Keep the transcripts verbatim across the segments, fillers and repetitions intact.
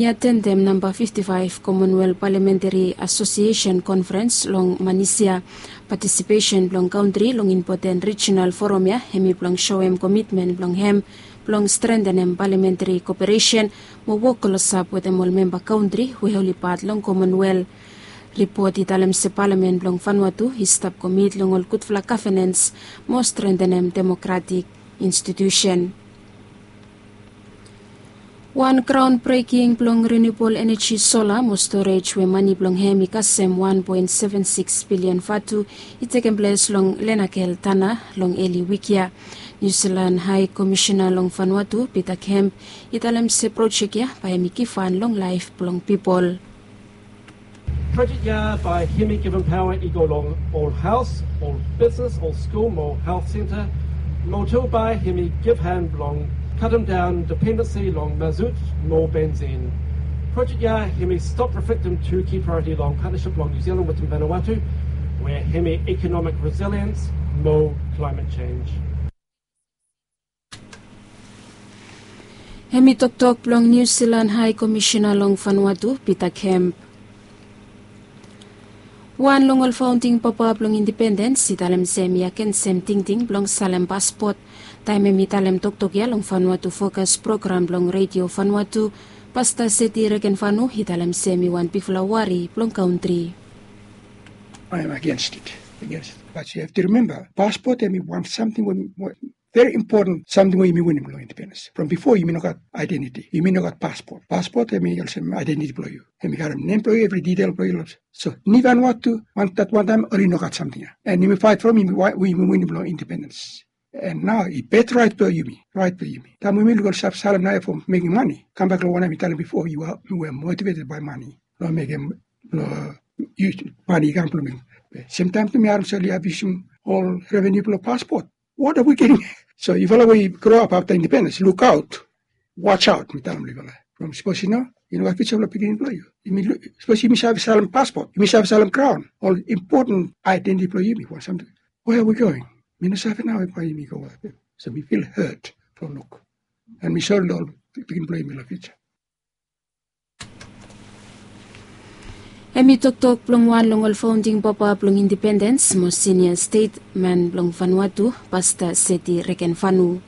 I atendem namba fifti faef Commonwealth Parliamentary Association Conference long Malaysia. Patisipesen blong kantri long impoten rijinal foram ya hemi blong soem komitmen blong hem blong strentenem paliamentri koperesen mo wok klosap wetem ol memba kantri we oli pat long Commonwealth. Ripot i talem se palamen blong Vanuatu i stap komit long ol gudfala gavenens mo strentenem demokratik institusen. Wan graon breking blong riniubol eneji sola mo storej we mane blong hem i kasem wan poen seven sikis bilian vatu i tekem ples long Lenakel Tana long eli wik ya. Niu Silan Hae Komisena long Vanuatu Pita Kemp i talem se projek ya bae hem i givhan long laef blong pipol. Projek ya bae hemi givim paoa i go long ol haos, ol bisnes, ol skul mo helt senta. Mo tu bae hemi givhan blong katemdaon dipendensi long mazut mo bensin. Projek ya hemi stop reflektem tu ki praeoriti long patnasip blong Niu Silan wetem Vanuatu we hemi ikonomik resiliens mo klaemet jenj. Hemi toktok blong Niu Silan Hae Komisena long Vanuatu Pita Kemp. Wan long ol faonding papa blong indipendens i talem se hemi agensem tingting blong salem paspot. Taem hemi talem toktok ya long Vanuatu Fokas program blong Redio Vanuatu, Pasta Seti Rekenvanu i talem se hemi wan bigfala wari blong kantri. I am against it. Against it. But you have to remember, passport hemi wan samting we very important samting we yumi winim long independens. From before yumi no gat identity, yumi no gat passport. Passport hemi olsem identity blong yu. Hemi karem nem blong yu, evri detail blong yu. So ni Vanuatu, wan dat wan taem oli no gat samting ya. And yumi faet from yumi, yumi winim long independens. And nao i bet rait blong yumi, rait blong yumi. Taem yumi luk ol save salem nao ya from mekem mane. Kambak long wanem mi talem bifo, yu are, yu were motivated by money. Long mekem, long yus mane i kam blong mekem. Semtaem tu mi harem se oli abiusum ol revenu blong passport. What are we getting? So yufala we i grow up afta independens, lukaot, watch out, mi talem long yufala. From sapos yu no, yu no gat future blong pikinini blong yu. Yumi lu-, sapos yumi save salem passport, yumi save salem graon, ol important identity blong yumi, wan samting. Where are we going? Mi no save nao bae yumi go. So mi feel hurt from luk. And mi sori long ol pikinini blong yumi long future. Hemi toktok blong wan long ol faonding papa blong indipendens mo sinia stetman blong Vanuatu, Pasta Seti Rekenvanu.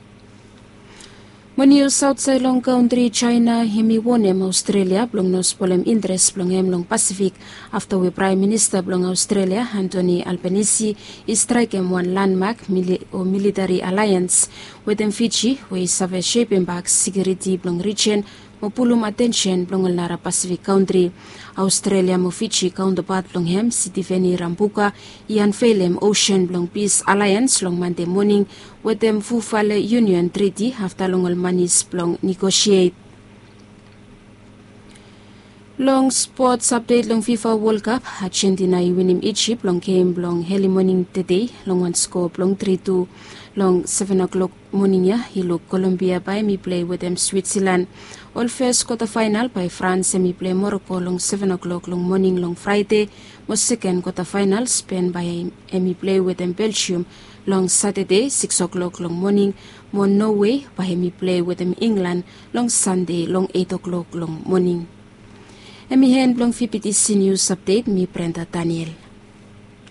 Mo nius aotsaed long kantri Jaena hemi wonem Aostrelia blong no spolem interes blong hem long Pasifik afta we Praem Minista blong Aostrelia, Antoni Albanisi, i straekem wan landmak mili-, o militari alaens wetem Fiji we i save sepem bak sekiuriti blong rijen mo pulum atensen blong ol nara Pasifik kantri. Aostrelia mo Fiji kaontapat blong hem, Sitiveni Rabuka, i anvelem Ocean blong Pis Alaens long Mande moning wetem Fufale Union Triti afta long ol manis blong negosiet. Long spots apdet long Fifa Wol Kap, Ajentina i winim Ijip long gem blong eli moning tede long wan sko blong tri tu. Long seven o'clock moning ya i luk Kolombia bae hemi plei wetem Switsalan. Ol fes kwata faenal bae Frans hemi plei Moroko long seven o'clock long moning long Fraede, mo seken kwata faenal Spen bae hemi plei wetem Beljium long Satade sikis o'clock long moning, mo Nowe bae hemi plei wetem Inglan long Sande long eit o'clock long moning. Hemi en blong VBTC Nius Apdet, mi Brenda Daniel.